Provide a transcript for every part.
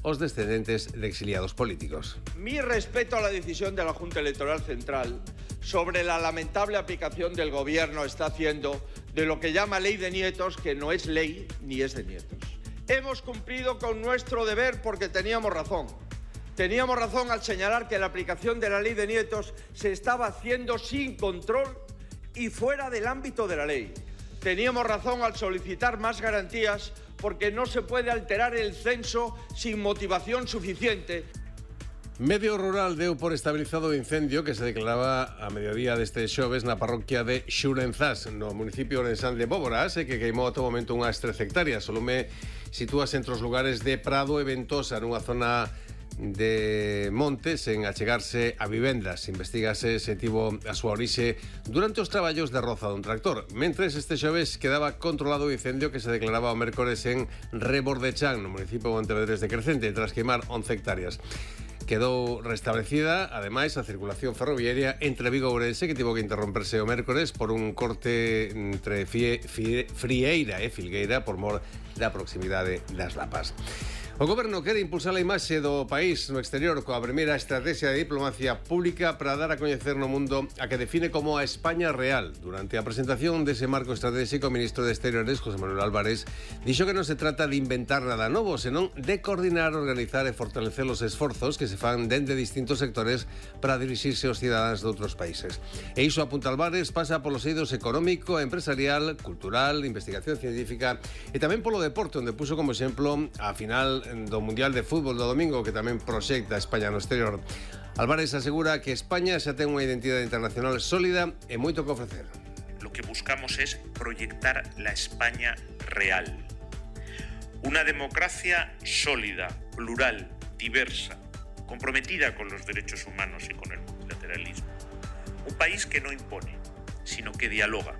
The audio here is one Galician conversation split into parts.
os descendentes de exiliados políticos. Mi respeto a la decisión de la Junta Electoral Central sobre la lamentable aplicación del Gobierno está haciendo de lo que llama ley de nietos, que no es ley ni es de nietos. Hemos cumplido con nuestro deber porque teníamos razón. Teníamos razón al señalar que la aplicación de la ley de nietos se estaba haciendo sin control y fuera del ámbito de la ley. Teníamos razón al solicitar más garantías porque no se puede alterar el censo sin motivación suficiente. Medio rural deu por estabilizado o incendio que se declaraba a mediodía deste xoves na parroquia de Xurenzás, no municipio orensán de Bóboras, que queimou a todo momento unhas 13 hectáreas. O lume sitúase entre os lugares de Prado e Ventosa, nunha zona de montes en achegarse a vivendas. Investígase se tivo a súa orixe durante os traballos de roza dun tractor. Mentres este xoves quedaba controlado o incendio que se declaraba o mércores en Rebordechán, no municipio de Pontevedrés de Crecente, tras queimar 11 hectáreas. Quedou restablecida, ademais, a circulación ferroviaria entre Vigo e Ourense, que tivo que interromperse o mércores por un corte entre Frieira e Filgueira por mor da proximidade das Lapas. O Goberno quere impulsar a imaxe do país no exterior coa primeira estrategia de diplomacia pública para dar a coñecer no mundo a que define como a España real. Durante a presentación dese marco estratégico, o ministro de Exteriores, José Manuel Álvarez, dixo que non se trata de inventar nada novo, senón de coordinar, organizar e fortalecer os esforzos que se fan dende distintos sectores para dirixirse aos cidadáns de outros países. E iso, apunta Álvarez, pasa polos eidos económico, empresarial, cultural, investigación científica e tamén polo deporte, onde puso como exemplo a final do Mundial de Fútbol do domingo, que tamén proxecta España no exterior. Álvarez asegura que España xa ten unha identidade internacional sólida e moito que ofrecer. Lo que buscamos es proyectar la España real. Una democracia sólida, plural, diversa, comprometida con los derechos humanos y con el multilateralismo. Un país que no impone, sino que dialoga.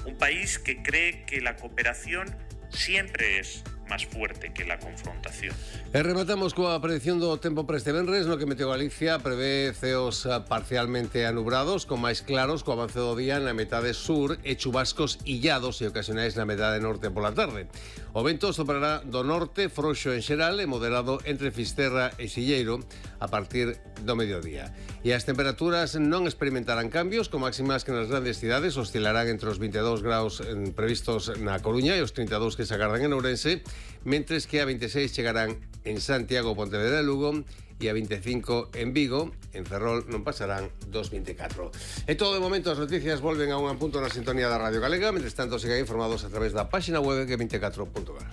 Un país que cree que la cooperación siempre es más fuerte que la confrontación. E rematamos coa predicción do tempo para este venres, no que Meteo Galicia prevé ceos parcialmente anubrados, con máis claros co avance do día na metade sur e chubascos illados e ocasionais na metade norte pola tarde. O vento soprará do norte, frouxo en xeral e moderado entre Fisterra e Silleiro a partir do mediodía. E as temperaturas non experimentarán cambios, con máximas que nas grandes cidades oscilarán entre os 22 graus previstos na Coruña e os 32 que se agardan en Ourense, mentres que a 26 chegarán en Santiago, Pontevedra e Lugo e a 25 en Vigo. En Ferrol non pasarán dos 24. E todo de momento as noticias volven a un punto na sintonía da Radio Galega. Mentres tanto, sigan informados a través da página web g24.gal.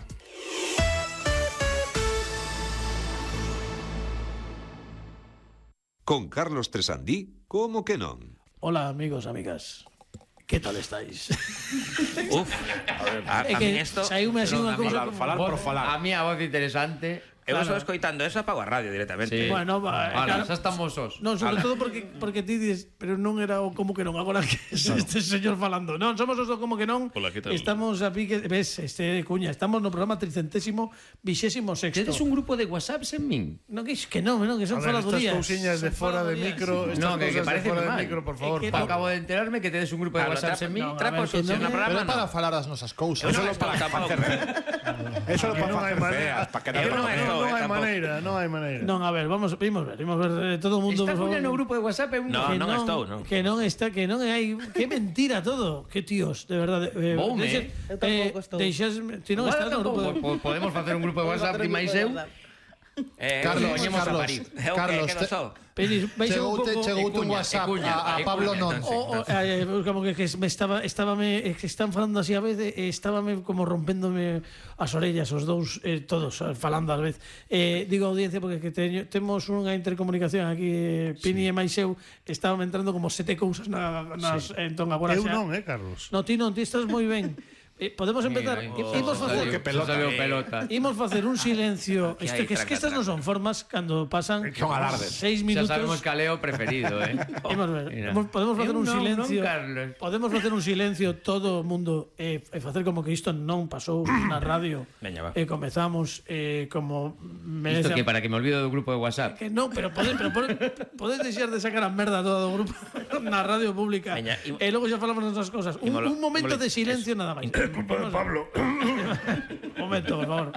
Con Carlos Tresandí, como que non? Hola, amigos, amigas. ¿Qué tal estáis? Uf, a mí esto... Saíume así unha cousa falar por falar. A mí a voz interesante... Eu Claro. só escoitando eso, apago a radio directamente. Sí. Bueno, Ahora, claro. xa estamos os. Non, sobre todo porque ti dices, pero non era o como que non, agora que este señor falando. Non, somos os do como que non. Hola, ¿qué tal? Estamos a pique, ves, Cuña, estamos no programa 326º. Tedes un grupo de WhatsApp en min? Non, que non, que son faladurías. Estas cousiñas de fora de micro, estas No, que cousas de parece fora de mal. micro, por favor. Acabo de enterarme que tedes un grupo de WhatsApp en min. no, a Trapo ver, que sucio non no é- programa. Pero para no. falar das nosas cousas. Eu non estou tampouco. Eso Que non hai maneira. non hai maneira. Non, a ver, vamos ver, todo o mundo, Está por favor. Cuña no grupo de WhatsApp? No, non estou, non. Que non está, que non hai, que mentira todo. Que tíos, de verdade. Boume. Eu tampouco estou. Ti non estás no grupo de... Podemos facer un grupo de WhatsApp ti máis eu. Carlos, Poñemos a parir. Carlos, Que non sou. Penis, vais a un pouco... Chegou un WhatsApp a Pablo non. Como que me estábame que están falando así a vez, estábame como rompéndome as orellas os dous, todos falando a vez. Digo audiencia porque que temos unha intercomunicación aquí, Pini e máis eu, estábame entrando como 7 cousas nas entón agora Eu xa. non, Carlos. No, ti estás moi ben. Podemos empezar. Imos facer pelota. Imos facer un silencio. Aquí Isto hai que es que estas non son formas cando pasan Son alardes. 6 Xa minutos. sabemos que Leo preferido, Imos ver. Mira. Podemos facer un silencio. Carlos. Podemos facer un silencio todo o mundo e facer como que isto non pasou na radio. Veña, va. E comezamos como merece. Isto que para que me olvido do grupo de WhatsApp. Que non, pero podes deixar de sacar a merda todo o grupo na radio pública. Veña, E logo xa falamos das cosas. Un momento de silencio nada máis. Pablo. Un momento, por favor.